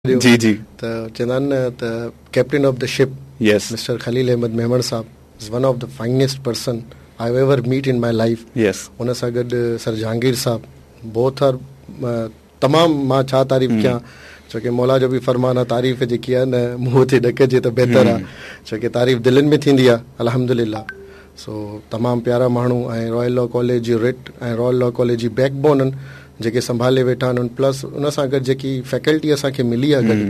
جي جي. ته چوندا آهن نه ته captain of the ship yes. Mister Khalil Ahmed Memon sahib is one of the finest person I have ever met in my life yes. ان سان گڏ سر جهانگير صاحب بوٿ آر تمام مان ڇا تعريف ڪيان ڇو ڪي مولا جو به فرمان آ تعريف جيڪي آ نه منهن تي نه ڪجي ته بهتر آ ڇو ڪي تعريف دلين ۾ ٿيندي آ الحمدلله سو تمام پيارا ماڻهو ۽ رائل لا ڪاليج جي رٽ ۽ رائل لا ڪاليج جي بيڪ بون جيڪي سنڀالي ويٺا آهن پلس ان سان گڏ جيڪي فيڪلٽي اسان کي ملي آهي گڏ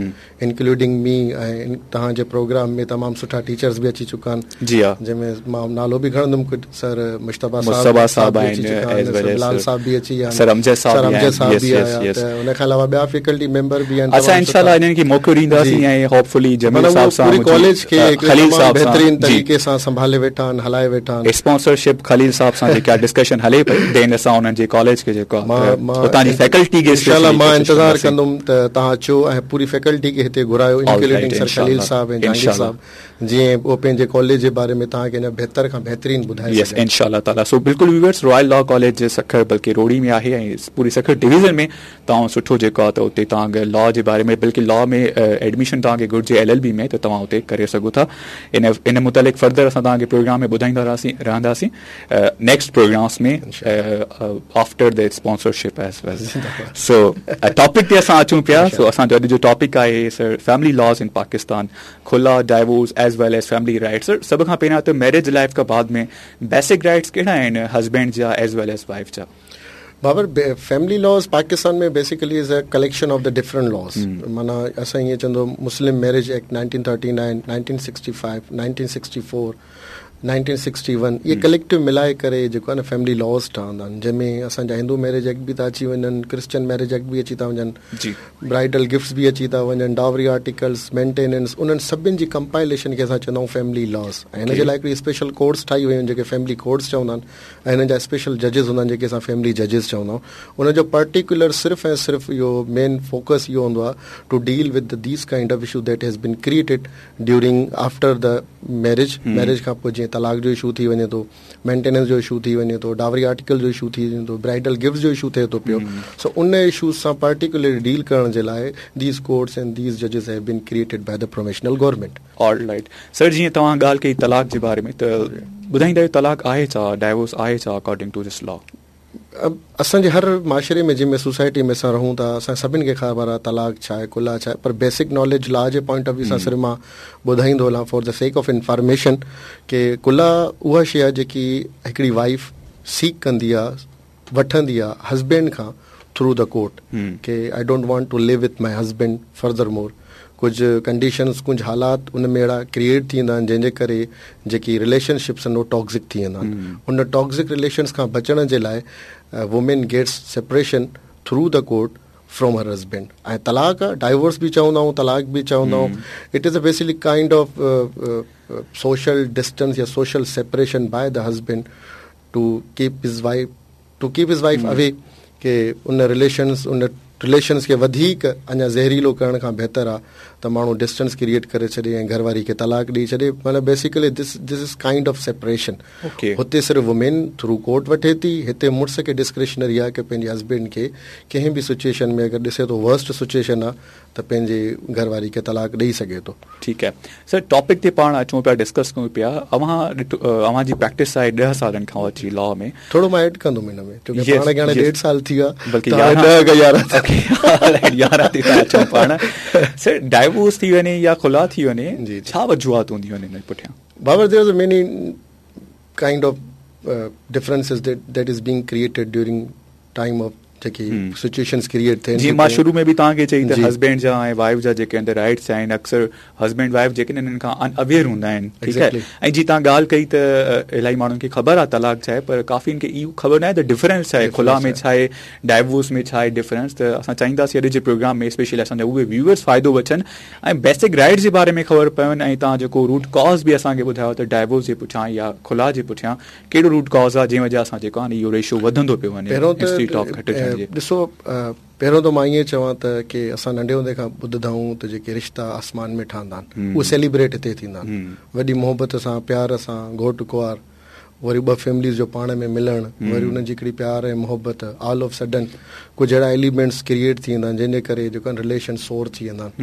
انڪلوڊنگ مي ۽ توهان جي پروگرام ۾ تمام سٺا ٽيچرز به اچي چڪا آهن جي ها جنهن ۾ مان نالو به کڻندم ڪجهه سر مجتبيٰ مجتبيٰ صاحب به اچي چڪا آهن سر بلال صاحب به اچي ويا آهن سر امجد صاحب سر امجد صاحب به آيا ته ان کان علاوه ٻيا فيڪلٽي ميمبر به آهن اسان انشاء الله انهن کي موقعو ڏينداسين ۽ هوپ فلي جميل صاحب سان پوري ڪاليج کي خليل صاحب بهترين طريقي سان سنڀالي ويٺا آهن هلائي ويٺا آهن. اسپانسرشپ خليل صاحب سان جيڪا ڊسڪشن هلي پئي دين اسان انهن جي ڪاليج کي جيڪو آهي اتان جي فيڪلٽي کي انشاء الله مان انتظار ڪندم ته توهان اچو ۽ پوري فيڪلٽي کي هتي گهرايو انڪلوڊنگ سر خليل صاحب ۽ جهانگير صاحب جيئن هو پنهنجي ڪاليج جي باري ۾ توهان کي اڃا بهتر کان بهترين ٻڌائي سگهن. يس انشاء الله تعالي سو بلڪل viewers Royal law college Sukkur بلڪه روهڙي ۾ آهي ۽ پوري سکر ڊويزن ۾ توهان سٺو جيڪو آهي ته اتي توهان اگر لا جي باري ۾ بلڪه لا ۾ ايڊميشن توهان کي گهرجي ايل ايل بي ۾ ته توهان اتي ڪري سگهو ٿا ان ان متعلق فردر اسان توهان کي پروگرام ۾ ٻڌائيندا رهاسين رهنداسين next programmes ۾ after the sponsorship as well so topic تي اسان اچون پيا سو اسان جو اڄ جو ٽاپڪ آهي sir family laws in Pakistan خلع divorce as well as family rights sir سڀ کان پهريان ته ميرج لائف کان بعد ۾ بيسڪ رائٽس ڪهڙا آهن هسبينڊ جا ايز ويل ايز وائف جا Babar family laws Pakistan ۾ basically is a collection of the different laws معنيٰ اسان ائين چوندو مسلم ميرج ايڪٽ 1939 1965 1964 1961 اهي ڪليڪٽو ملائي ڪري جيڪو آهي نه فيملي لاز ٺهندا آهن جنهن ۾ اسان جا هندو ميرج ايڪٽ به ٿا اچي وڃن ڪرسچن ميرج ايڪٽ به اچي ٿا وڃن برائيڊل گفٽس به اچي ٿا وڃن ڊاوري آرٽيڪلس مينٽيننس انهن سڀن جي ڪمپائليشن کي اسان چوندا آهيون فيملي لاز ۽ هن جي لاء هڪڙي اسپيشل ڪورٽس ٺاهي ويون آهن جيڪي فيملي ڪورٽس چوندا آهن ۽ هنن جا اسپيشل ججز هوندا آهن جيڪي اسان فيملي ججز چوندا آهيون انهن جو پرٽيڪولر صرف ۽ صرف اهو مين فوڪس اهو هوندو آهي to deal with these kind of issue that has been created during after the marriage marriage کان پوء جيئن طلاق جو اشو ٿي وڃي ٿو مينٽيننس جو اشو ٿي وڃي ٿو ڊاوري آرٽيڪل جو اشو ٿي وڃي ٿو برائيڊل گفٽس جو اشو ٿئي ٿو پيو سو ان اشوز سان پرٽيڪولرلي ڊيل ڪرڻ جي لاء these courts and these ججز have been created by the provisional government. All right sir جيئن توهان ڳالهه ڪئي طلاق جي باري ۾ ته ٻڌائيندا آهيو طلاق آهي ڇا ڊائيورس آهي ڇا اڪارڊنگ ٽو this لا. اسان جي هر معاشري ۾ جنهن ۾ سوسائٽي ۾ اسان رهون ٿا اسان سڀن کي خبر آهي طلاق ڇا آهي خلع ڇا آهي پر بيسڪ ناليج لا جي پوائنٽ آف ويو سان صرف مان ٻڌائيندو هلان for the sake of information ڪي خلع اها شي آهي جيڪي هڪڙي وائيف سيڪ ڪندي آهي وٺندي آهي هسبينڊ کان through the court K I don't want to live with my husband further more ڪجهه ڪنڊيشنز ڪجهه حالات ان ۾ اهڙا ڪريئيٽ ٿي ويندا آهن جنهن جي ڪري جيڪي رليشن شپس آهن اهي ٽاڪزڪ ٿي ويندا آهن ان ٽاڪزڪ رليشنس کان بچڻ جي لاء women gets separation through the court from her husband ۽ طلاق ڊائيورس به چوندا آهيون طلاق به چوندا آهيون it is a basically kind of social distance يا social separation by the husband to keep his wife to keep his wife away K in relations in relations کي وڌيڪ اڃا زهريلو ڪرڻ کان بهتر آ ته ماڻهو ڊسٽنس ڪريئيٽ ڪري ڇڏي ۽ گهر واري کي طلاق ڏئي ڇڏي مطلب basically this this is kind of separation هتي صرف وومين ٿرو ڪورٽ وٺي ٿي هتي مڙس کي ڊسڪريشنري آ ڪي پنهنجي هسبينڊ کي ڪنهن به سچويشن ۾ اگر ڏسي ٿو ورسٽ سچويشن آ ته پنهنجي گهر واري کي طلاق ڏئي سگهي ٿو. ٺيڪ آهي سر ٽاپڪ تي پاڻ اچون پيا ڊسڪس ڪيون پيا اوهان ڏٺو اوهان جي پريڪٽس آهي ڏهه سالن کان وٺي لا ۾. ٿورو مان ايڊ ڪندم ان ۾ ڇو ڪي پاڻ کي هاڻي ڏيڍ سال ٿي ويو آهي بلڪه يارهن ڏهه کان يارهن يارهن تي ٿا اچون پاڻ سر ڊائيورس ٿي وڃي يا خلع ٿي وڃي ڇا وجوهات هونديون آهن ان پٺيان؟ Babar there is many kind of differences that is being created during time of جيڪي سچويشنز ڪريئيٽ ٿين جيئن مان شروع ۾ به توهان کي چئي ته هسبينڊ جا ۽ وائيف جا جيڪي اندر رائٽس آهن اڪثر هسبينڊ وائيف جيڪي انهن کان ان اويئر هوندا آهن ٺيڪ آهي ۽ جي توهان ڳالهه ڪئي ته الاهي ماڻهن کي خبر آهي طلاق ڇا آهي پر ڪافي کي اهو خبر ناهي ته ڊفرنس ڇا آهي خلع ۾ ڇا آهي ڊائيورس ۾ ڇا آهي ڊفرنس ته اسان چاهينداسين اڄ جي پروگرام ۾ اسپيشلي اسان جا اهي ويوئرس فائدو وٺن ۽ بيسڪ رائٽس جي باري ۾ خبر پون ۽ توهان جيڪو روٽ ڪاز به اسان کي ٻڌايو ته ڊائيورس جي پٺيان يا خلع جي پٺيان ڪهڙو روٽ ڪاز آهي جنهن وجه سان جيڪو آهي اهو ريشو وڌندو پيو وڃي پهريون ته ڏسو پهريون ته مان ائين چوان ته ڪي اسان ننڍي هوندي کان ٻڌندا آهيون ته جيڪي رشتا آسمان ۾ ٺهندا آهن اهي سيليبريٽ هتي ٿيندا آهن وڏي محبت سان پيار سان گهوٽ ڪنوار وري ٻه فيمليز جو پاڻ ۾ ملڻ، وري انهن جي هڪڙي پيار ۽ محبت، آل آف سڊن ڪجهه اهڙا ايليمينٽس ڪريئيٽ ٿي ويندا آهن جنهن جي ڪري جيڪو آهن رليشن سور ٿي ويندا آهن.